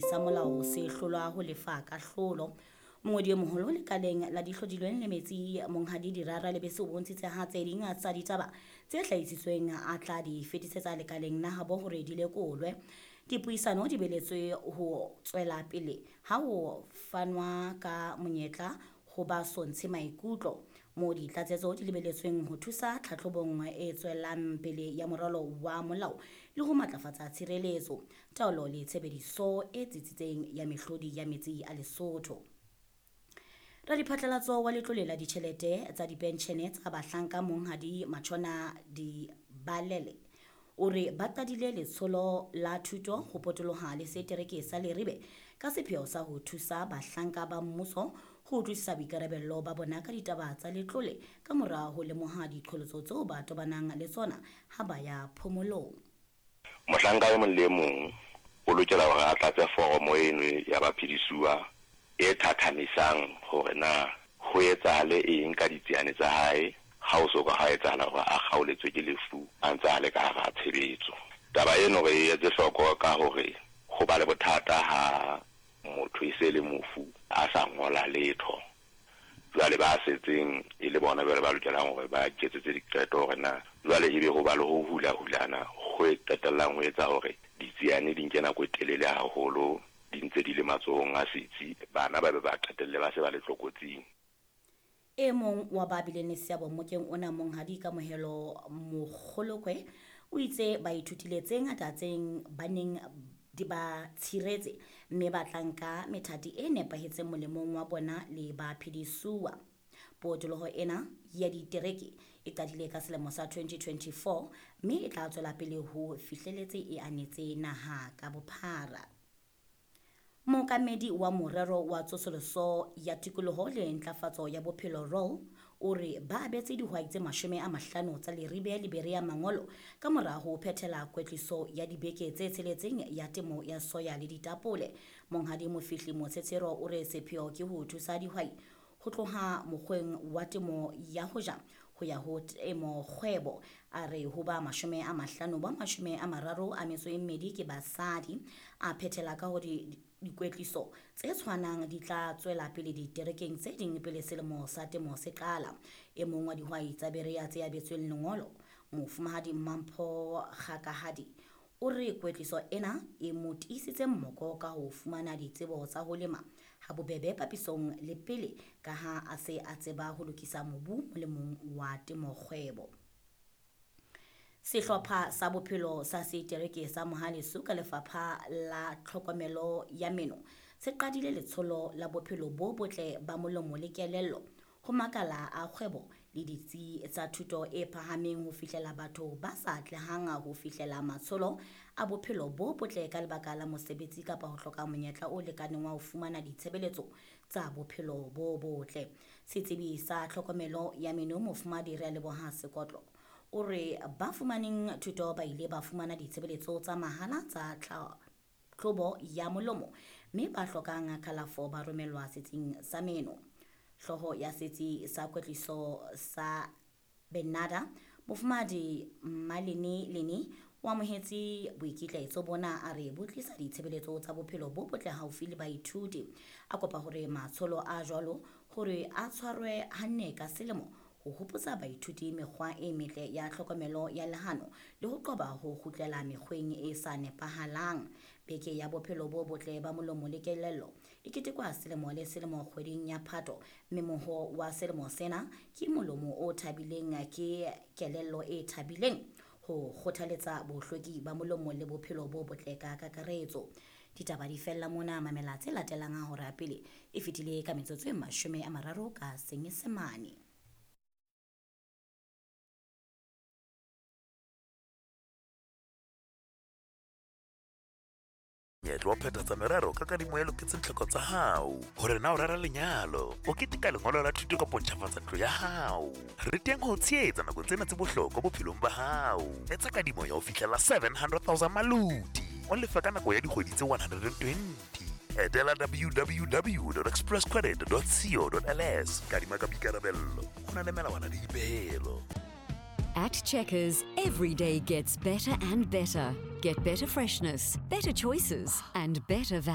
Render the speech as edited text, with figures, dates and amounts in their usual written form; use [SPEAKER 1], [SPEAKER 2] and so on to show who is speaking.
[SPEAKER 1] sa molao se hlolwa ho lefa kahlolo. Mongodi e moholo lekaleng la dihlodilweng le metsi Monghadi Dirara Lebese o bontshitse ha tse ding tsa ditaba tse hlahisitsweng a tla di fetisetsa lekaleng la habo hore di lekolwe. Dipuisano di beletswe ho tswela pele ha ho fanwa ka monyetla ho ba so ntshe maikutlo, moo ditlatsetso di lebeletsweng ho thusa tlhatlhobong e tswelang pele ya moralo wa molao le ho matlafatsa tshireletso, taolo le tshebediso e tsitsitseng ya mehlodi ya metsi a Lesotho. Radiphatlalatso wa letlole la ditjhelete tsa dipentjhene tsa bahlanka Monghadi Matshona Dibalele o re ba qadile letsholo la thuto ho potoloha le setereke sa Leribe ka sepheo sa ho thusa bahlanka ba mmuso ho utlwisisa boikarabello ba bona ka ditaba tsa letlole ka mora ho lemoha diqholotso tseo ba tobanang le tsona ha ba ya phomolong.
[SPEAKER 2] Mohlanka e mong le e mong o lokela hore a tlatse foromo eno ya baphedisuwa e thathamisang hore na ho etsahale eng ka ditsiane tsa hae ha ho so ka ha etsahala hore a kgaoletswe ke lefu a ntse a le ka hara tshebetso. Taba eno re e etse hloko ka hore ho ba le bothata ha motho e se e le mofu a sa ngola letho. Jwale ba setseng e le bona jwale ba lokelang hore ba iketsetse diqeto hore na jwale ebe ho ba le ho hula-hulana ho qetellang ho etsa hore ditsiane di nke nako e telele haholo di ntse di le matsohong a setsi, bana ba be ba qetelle ba se ba le tlokotsing.
[SPEAKER 1] E mong wa ba bileng le seabo mmokeng ona, Monghadi Kamohelo Mokgolokwe, o itse ba ithutile tse ngata tse ba neng di ba tshiretse mme ba tla nka methati e nepahetseng molemong wa bona le baphedisuwa. Potoloho ena ya ditereke e qadile ka selemo sa 2024 mme e tla tswela pele ho fihleletse e anetse naha ka bophara. Mookamedi wa Morero wa Tsosoloso ya Tikoloho le Ntlafatso ya Bophelo, ROL, o re ba abetse dihwai tse 50 tsa Leribe le Berea mangolo ka mora ho phethela kwetliso ya dibeke tse tsheletseng ya temo ya soya le ditapole. Monghadi Mofihli Motshetshero o re sepheo ke ho thusa dihwai ho tloha mokgweng wa temo ya ho ja ho ya ho temo kgwebo. A re ho ba 50 ba 32 ke basadi. A phethela ka hore dikwetliso tse tshwanang di tla tswela pele diterekeng tse ding pele selemo sa temo se qala. E mong wa dihwai tsa Berea tse abetsweng lengolo, Mofumahadi Mampho Kgakahadi, o re kwetliso ena e mo tiisitse mmoko ka ho fumana ditsebo tsa ho lema ha bobebe papisong le pele ka ha a se a tseba ho lokisa mobu molemong wa temokgwebo. Sehlopha sa bophelo sa setereke sa Mohaleso ka lefapha la tlhokomelo ya meno se qadile letsholo la bophelo bo botle ba molomo le kelello ho makala a kgwebo le ditsi tsa thuto e phahameng ho fihlela batho ba sa atlehang ho fihlela matsholo a bophelo bo botle ka lebaka la mosebetsi kapa ho hloka monyetla o lekaneng wa ho fumana ditshebeletso tsa bophelo bo botle. Setsebi sa tlhokomelo ya meno Mofumadi Realeboha Sekotlo o re ba fumaneng thuto ba ile ba fumana ditshebeletso tsa mahala tsa tlhahlobo ya molomo mme ba hlokang kalafo ba romellwa setsing sa meno. Hlooho ya setsi sa kwetliso sa Benada, Mofumahadi Malini Lini, o amohetse boikitlaetso bona a re bo tlisa ditshebeletso tsa bophelo bo botle haufi le baithuti. A kopa hore matsholo a jwalo hore a tshwarwe hanne ka selemo ho hopotsa baithuti mekgwa e metle ya tlhokomelo ya lehano le ho qoba ho kgutlela mekgweng e sa nepahalang. Beke ya bophelo bo botle ba molomo le kelello e ketekwa selemo le selemo kgweding ya Phato, mme moho wa selemo sena ke molomo o thabileng ke kelello e thabileng, ho kgothaletsa bohlweki ba molomo le bophelo bo botle ka kakaretso. Ditaba di fella mona, mamela tse latelang ha hora pele e fetile ka metsotso e 30 ka Senyesemane.
[SPEAKER 3] Monyetla wa phethatsa merero ka kadimo e loketseng tlhoko tsa hao. Hore na o rera lenyalo, o keteka lengolo la thuto kapa o ntjhafatsa ntlo ya hao. Re teng ho o tshehetsa nakong tsena tse bohlokwa bophelong ba hao. Etsa kadimo ya ho fihlela 700,000 maloti, o lefe ka nako ya dikgwedi tse 120. Etela www.expresscredit.co.ls. Kadima ka boikarabello, ho na le melawana le dipehelo.
[SPEAKER 4] At Checkers, every day gets better and better. Get better freshness, better choices, and better value.